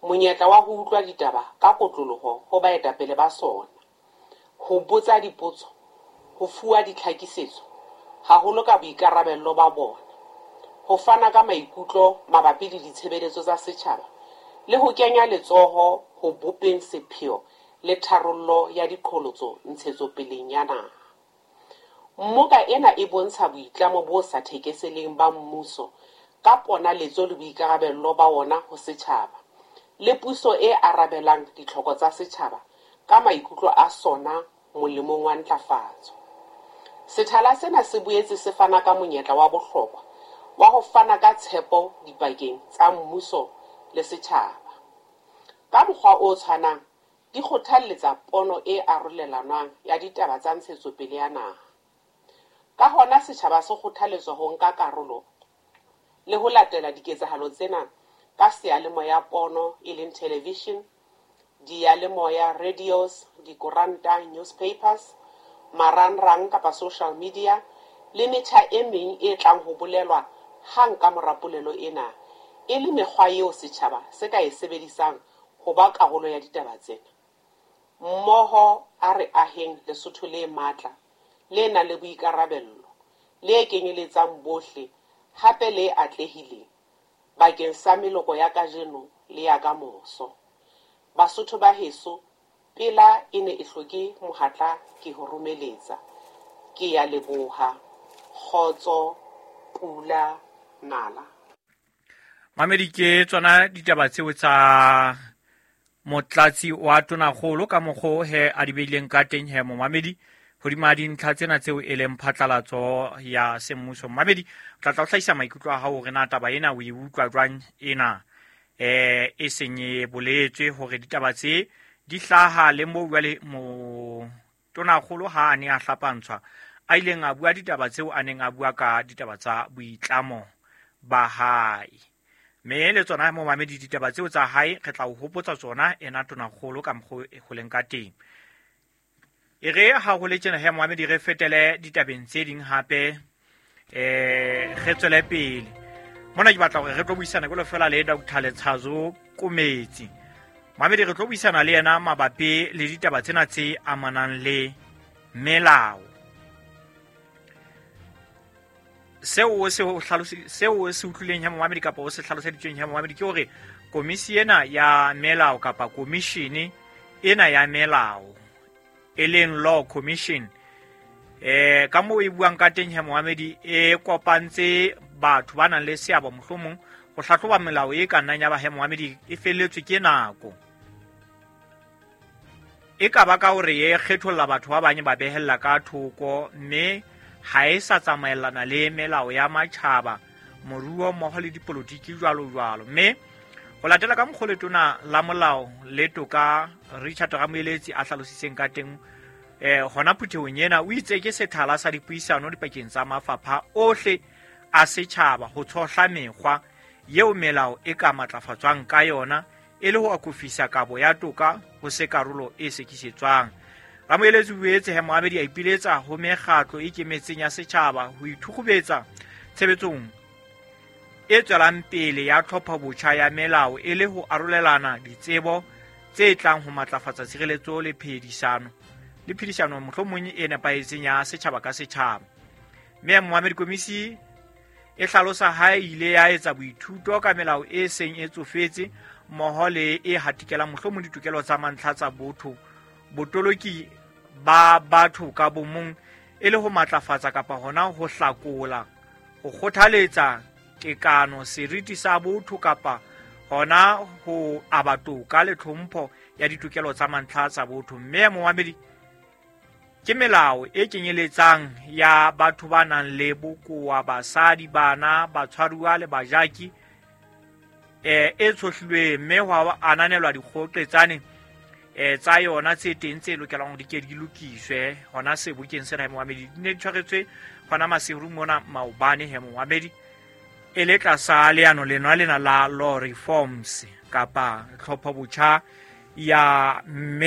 monyetla wa ho utlwa ditaba ka kotloloho ho baetapele ba sona, ho botsa dipotso, ho fuwa ditlhakisetso, haholo ka boikarabello ba bona, ho fana ka maikutlo mabapi le ditshebeletso tsa setjhaba le ho kenya letsoho ho bopeng sepheo le tharollo ya diqholotso ntshetsopeleng ya naha. Mmoka ena e bontsha boitlamo bo sa thekeseleng ba mmuso ka ponaletso le boikarabello ba wona ho setjhaba, le puso e arabelang ditlhoko tsa setjhaba ka maikutlo a sona molemong wa ntlafatso. Sethala sena se boetse se fana ka monyetla wa bohlokwa wa ho fana ka tshepo dipakeng tsa mmuso le setjhaba. Ka mokgwa o tshwanang, di kgothalletsa pono e arolelanwang ya ditaba tsa ntshetsopele ya naha. Ka hona setjhaba se kgothaletswa ho nka karolo le ho latela diketsahalo tsena ka seyalemoya pono e leng television, diyalemoya radios, dikoranta newspapers, marangrang kapa social media le metjha e meng e tlang ho bolelwa hang ka mora polelo ena, e le mekgwa eo setjhaba se ka e sebedisang ho ba karolo ya ditaba tsena. Mmoho a re aheng Lesotho le matla, le nang le boikarabello, le kenyeletsang bohle, hape le atlehileng bakeng sa meloko ya kajeno le ya kamoso. Basotho ba heso, pela e ne e hloke mohatla ke ho romeletsa. Ke ya leboha. Kgotso, pula, nala. Mamedi, ke tsona ditaba tseo tsa motlatsi wa tonakgolo ka mokgo he a di beileng ka teng he momamedi hodima dintlha tsena tseo e leng phatlalatso ya semmuso. Momamedi, o tla tla o hlahisa maikutlo a hao hore na taba ena o e utlwa jwang ena e seng e boletswe hore ditaba tse di hlaha le moo jwale motonakgolo ha a ne a hlapantshwa a ileng a bua ditaba tseo a neng a bua ka ditaba tsa boitlamo ba hae. Mme le tsona momamedi ditaba tseo tsa hae re tla o hopotsa tsona ena tonakgolo ka mokgwa e ho leng ka teng. E re ha ho le tjena he momamedi re fetele ditabeng tse ding hape, re tswele pele. Mona ke batla hore re tlo buisana jwalo fela le Doctor Letshazo Kometsi. Momamedi re tlo buisana le yena mabapi le ditaba tsena tse amanang le melao. Seo se o hlalosi, seo se utlwileng he momamedi kapa o se hlaloseditsweng he momamedi ke hore komisi ena ya melao kapa komishene ena ya melao e leng Law Commission, ka moo e buang ka teng he momamedi e kopantse batho ba nang le seabo mohlomong ho hlahloba melao e ka nnang ya ba he momamedi e felletswe ke nako. E ka ba ka hore e kgetholla batho ba bang ba behella ka thoko mme ha e sa tsamaellana le melao ya matjhaba, moruo mmoho le dipolotiki jwalo jwalo. Mme ho latela ka mokgwa letona la molao le toka Richard Ramoeletsi a hlalositseng ka teng, hona phuthehong ena o itse ke sethala sa dipuisano dipakeng tsa mafapha ohle a setjhaba ho tshohla mekgwa eo melao e ka matlafatswang ka yona e le ho akofisa kabo ya toka ho se karolo e sekisetswang. Ramoeletsi o boetse he moamedi a ipiletsa ho mekgatlo e ikemetseng ya setjhaba ho ithukgubetsa tshebetsong e tswelang pele ya tlhophobotjha ya melao e le ho arolelana ditsebo tse tlang ho matlafatsa tshireletso le phedisano le phedisano mohlomong e nepahetseng ya setjhaba ka setjhaba. Mme moamedi komisi e hlalosa ha e ile ya etsa boithuto ka melao e seng e tsofetse mmoho le e hatikelang mohlomong ditokelo tsa mantlha tsa botho, botoloki ba batho ka bomong e le ho matlafatsa kapa hona ho hlakola, ho kgothaletsa tekano, seriti sa botho kapa hona ho aba toka le tlhompho ya ditokelo tsa mantlha tsa botho. Mme momamedi ke melao e kenyeletsang ya batho ba nang le bokowa, basadi, bana, batshwaruwa le bajaki, e tshohlilweng mme ho ananelwa dikgoqetsane tsa yona tse teng tse lokelang hore di ke di lokiswe hona sebokeng sena he momamedi. Di ne di tshwaretswe hona Maseru mona maobane he momamedi, e le tlasa leano lena lena la law reforms kapa tlhophobotjha ya mme